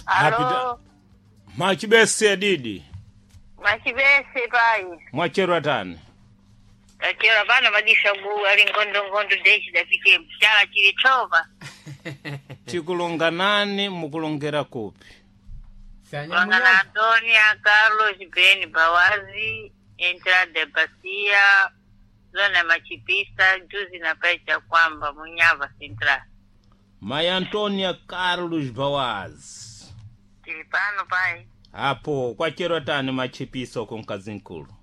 Alo, Machibese didi. Machibese pai. Mwacherwa tani. Tachera pano madisha gu ali ngondo ngondo dechi dapite mchala chili chova. Tikulonga nani mukulongera kupi? Kulonga na Antonia Carlos Ben Bawazi Entrada Bacia Zona Machipisa juzi na pacha kwamba Munyava Central. Mai Antonia Carlos Bawazi. Tili pano pai. Apo kwacherwa tani machipisa uko mkazi nkulu.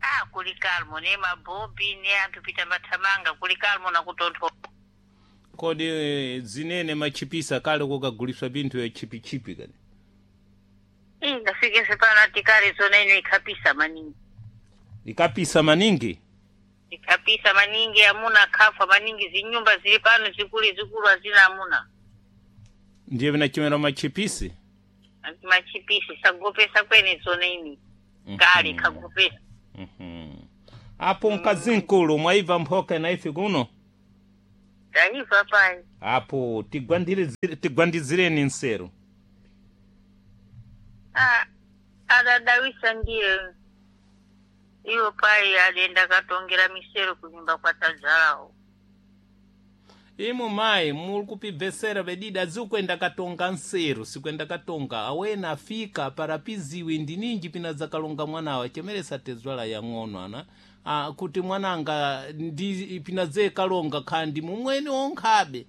Ah, kuli kalmo ne mabombi ne anthu pita mathamanga kuli kalmo na kutontho. Kodi zinene machipisa kale kukaguliswa binthu ya chipichipi kani. Ih, ndafikese pano atikale zona ino ikhapisa maningi. Ikapisa maningi. Ikapisa maningi amuna khafa maningi zinyumba zili pano zikulu zikulu azina amuna. Ndiye vinachimera machipisi. Anti machipisi sagopesa kwene zona ini. Kale khagopesa. Mhm. Apo mkazi nkulu mwaibva mphoka na ife kuno. Taifa pai. Apo tigwandizireni nseru. Ah, adadawisa ndiye. Iwo pai adenda katongera misero kunyumba kwa tazalawo. Imu mayi muli kupibvesera bedida zikuenda katonga nseru sikuenda katonga awena afika parapiziwi ndininji pina zakalonga mwanawa chemeresa tezwala yang'ono ana ah, kuti mwananga ndi pina ze kalonga khandi mumweni onkhabe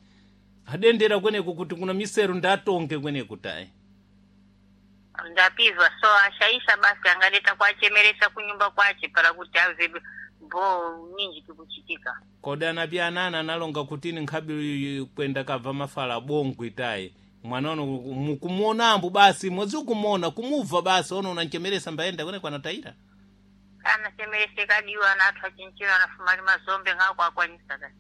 adendera kweneku kuti kuna miseru ndatonge kweneku tayi Ndapizwa so ashaisha basi angadeta kwachemeresa kunyumba kwache para kuti ave bo ninji kikuchitika. kodi anapi anana analonga kutini nkhabi kwenda kabva mafala bongwi tayi mwana uno mukumuonambo basi mwezi ukumuona kumubva basi ono unanchemeresa mbayenda kweneku anatayira Anachemerese kadiwa anathu achinchira anafumali mazombe ngako akwanisa kati.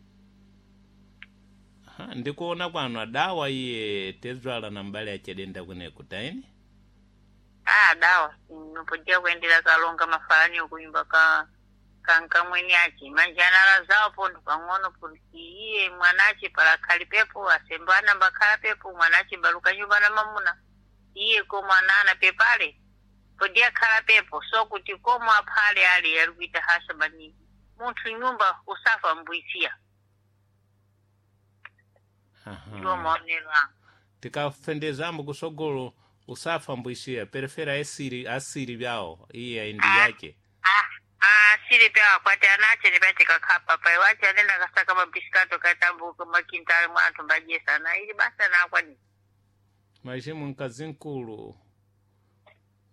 Aha, ndikuona kwanu adawa iye tezwala na mbali achedenda kuneku taini Ah, dawa nopodia kuendera kalonga mafalani kunyumba ka kankamweni ache manje anala zawo pontho pang'ono kuti iye mwanache pala khali pepo asembana mbakhala pepo mwanache mbaluka nyumba na mamuna iye komwe anana pepale podiya khala pepo so kuti komwe aphale ali ali kuita hasha maningi munthu nyumba usafa mbwisiya ndiwo maonero anga. Tikafendezambo kusogolo usafa mbwisiya perefera asiri asiri vyawo iye aindi yake. Ah, ah, sili pya akwati anache ni pache kakhapa pa iwache anenda kasaka mabisikato katambuka makintali mwanthu mbajesa na ili basa na akwani. Majimu mkazi nkulu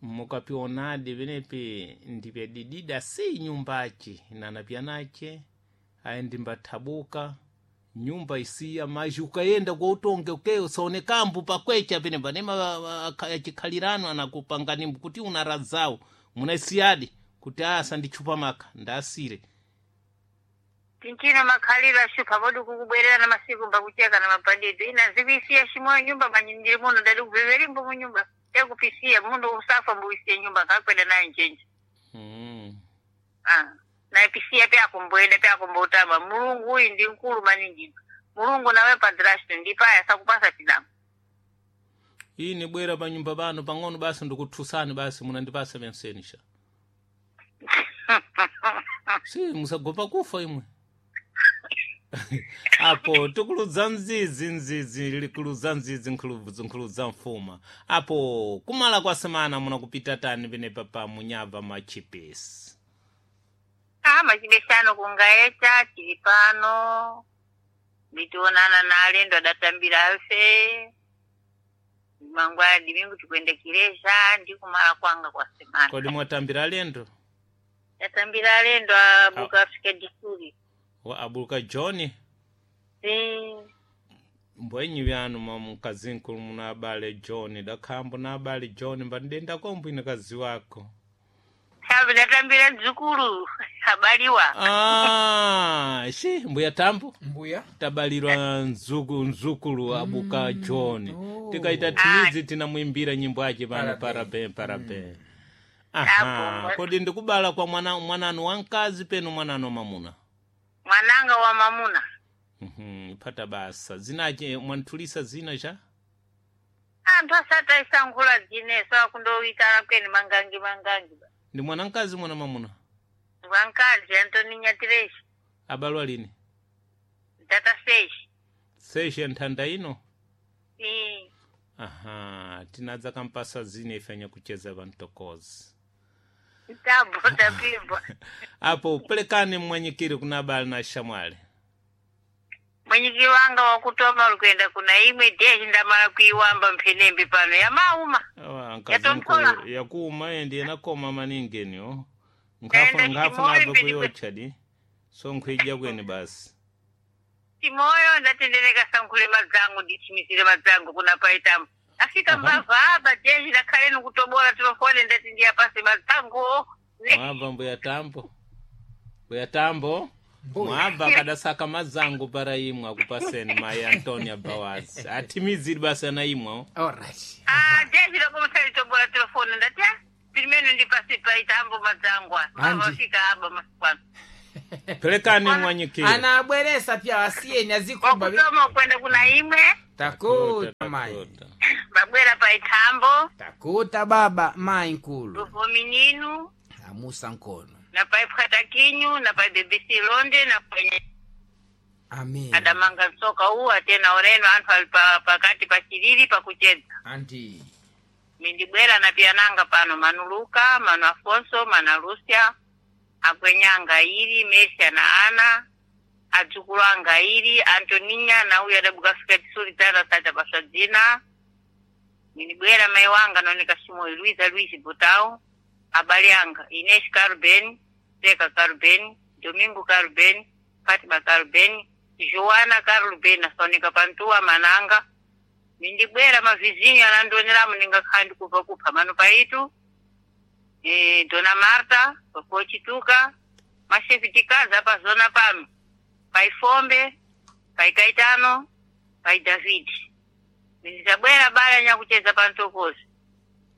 mukapionadi venepi ndipyadidida si nyumbachi nanapyanache ayi ndimbathabuka nyumba isiya maji ukayenda kwa utonge uke usaonekambu pakwecha pene panema achikhalirano anakupanganimbu kuti unarazawo munaisiyadi kuti asa ndichupa maka ndasire. Tinchino makhaliro ashupa podi kukubwerera na masiku mbakucheka na mabandidwe ina zikuisiya shimoyo nyumba manyindiri muno ndali kuveverimbo munyumba yakupisiya mundu usafa mbuisiye nyumba kakwenda nayo njenje. Ah, naipisiya pyakumboenda pyakumbotama mulungu uyu ndi mkulu maningi mulungu nawe padrasto ndipaya sakupasa tinamo. Iyi nibwera pa nyumba pano pang'ono basi ndikuthusani basi munandipasa pensenisha si musagopa kufa imwe apo tikuludza mzizi mzizi likuludza mzizi nkhuludza mfuma apo kumala kwa semana munakupita tani penepa pa munyava machipesi. Ah, machibesano kungaecha tili pano nditionana na alendo adatambira afe mangwana dimingu tikwenda kireza ndi kumala kwanga kwa semana. Kodi mwatambira alendo? Tatambira alendo abuka Afrika disuri. Wa abuka John. Si mbwenyi vyanu mwa mkazinkulu muna abale John dakhambo na abale John mbandidenda kombo ine kazi wako. sabe datambira dzukulu abaliwa. Ah, shi mbuya tambo Mbuya. tabalirwa nzuku nzukulu abuka John. Oh. Tikaita timizi tinamwimbira nyimbo ache pano Parabe. parabe parabe. Aha, Apo. kodi ndikubala kwa mwana mwananu wankazi penu mwananu mamuna. Mwananga wa mamuna. Pata basa zinache mwanthulisa zina cha Ah, Anthu asataisankhula dzineso akundowitana kweni mangangi mangangi. Ndi mwana mkazi mwana mamuna? Wankazi Antoninya Tireshi. Abalwa lini? Data seshi. Seshi nthanda ino? Ii. Aha, tinadza kampasa zine ifenya kucheza vantokozi. Tabo tapibwa. Apo pelekani mmwanyikiri kuna abale na shamwali. Mwenyikiri wanga wakutoma uli kuenda kuna imwe deshi ndamala kuiwamba mphenembe pano yamauma. Awa, nkazi Yatontola. nkulu yakuuma endi yanakoma maningi eniyo. Ndaenda Nkhafuna chimoyo abe mbeni kuyocha di. So nkhwija kweni basi. Timoyo ndatendereka sankhule madzangu ndichimizire madzangu kuna paitamu. Afika Aha. mbava apa deshi ndakhaleni kutobola tilofone ndati ndiyapase madzangu. Mwabva mbuya tambo. Mbuya tambo. Mbuya. Mwabva akadasaka mazangu para imwe akupaseni mai Antonia Bawazi. Atimiziri basi ana imwe. Alright. Ah, deshi lakomusalitobola tilofone ndati ah, pilimene ndipase paitambo madzangu. Mbava Andi. afika apa masiku ano. Pelekani mwanyikiri. Anabweresa pya asiyeni azikhumba Wakutoma kwenda kuna imwe takuta mai. babwera paitambo Takuta baba mai nkulu. luvomininu Amusa nkono. na paipwatakinyu na pa BBC Londe na kwenye Amen. adamanga msoka uwu atena oreno anthu ali pakati pa chilili pakuchedza Anti. mindibwera na piyananga pano manu Luka manu Afonso mana Lucia akwenyanga ili Mesia na ana adzukulu anga ili Antoninya na uyu adabuka fika tisuli tata sacha paswa dzina mindibwera mai wanga naoneka Simoyo Luiza Luiz Butao abale anga Inês Carben Zeca Carben Domingo Carben Fatima Carben Joana Carben asaoneka pantuwa mananga mindibwera mavizinyo anandioneramu ndingakhala ndikubva kupha mano paitu Dona Marta pakuchituka mashefi tikaza pazona pano paifombe paikaitano pai Davidi mindizabwera bala nyakucheza pantokozi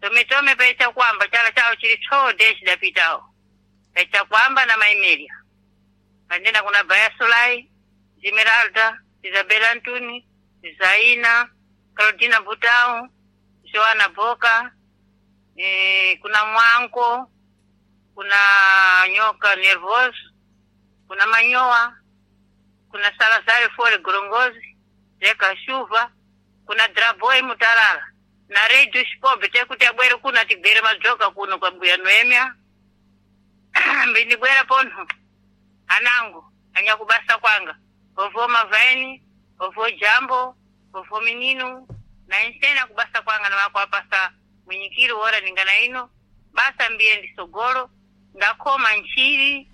tometome paichakwamba chala chawo chili tsoo deshi dapitawo paichakwamba na maimelia pandenda kuna Baya Solai Zimeralda Isabela Antuni Zaina Claudina Butao Joana Boka kuna Mwanko kuna Nyoka Nervos kuna Manyoa kuna Salazar Fole Gorongozi Zeka Shuva kuna Draboy Mutalala na Radio Shpobe tekuti abwere kuno atigwere madzoka kuno kwa mbuya Noemia mbindibwera pono anangu anyakubasa kwanga ovo mavaini ovo jambo ovo mininu na insena kubasa kwanga namakwapasa mwinyikiri wora ningana ino basa mbiye ndisogolo ndakoma nchiri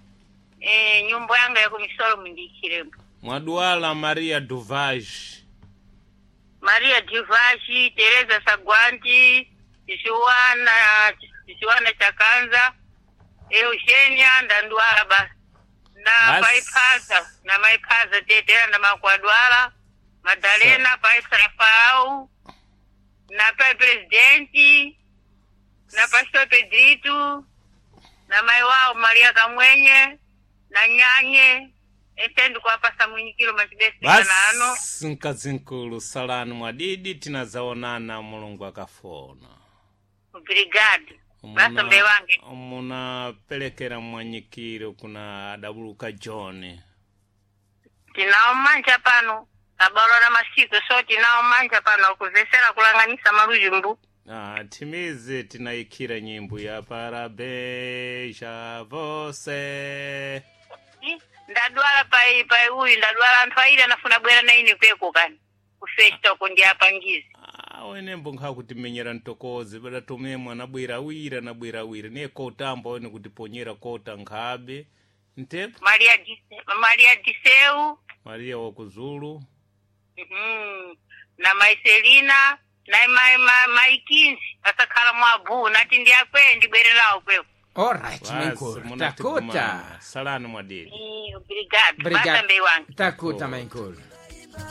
nyumba yanga yakumisolo mundiikhirembo Mwaduala Maria Duvage. Maria Divashi, Teresa Sagwanti, Joana, Joana Chakanza, Eugenia Ndanduala basi. Na Basi. Paipaza, na Maipaza Tetera na Makwadwala, Madalena Paisa Rafael, na Pai Presidente, na Pastor Pedrito, na mai wao Maria Kamwenye, na Nyanye, ese ndikuwapasa mwinyikiro machibesi kana ano. Basi nkazinkulu salani mwadidi tinazaonana Mulungu akafona. Obrigado. Basa mbe wange. Munapelekera mwanyikiro kuna adabuluka John. Tinawo manja pano abalo na masiku so tinawo manja pano akuvesera kulanganisa malujumbu. Ah, timize tinaikhira nyimbo ya parabéns a você. Ndadwala pai pai uyu ndadwala anthu aili anafuna bwera na ine kweko kani kufesta uko ndi apangizi. Ah, wenembo nkhakuti ntokozi badatomemwe anabwera awiri anabwera awiri niye kotamba wene kutiponyera kota nkhabe ntepo Maria Maria Diseu Maria wakuzulu na Maiselina na mai mai Maikinzi asakhala mwabu nati ndi akwe ndibwere nawo kweko. Alright mai basi nkulu. munatigumana Takuta. salani mwadidi Obrigado. Obrigado. Basa mbe wange. Takuta mai nkulu.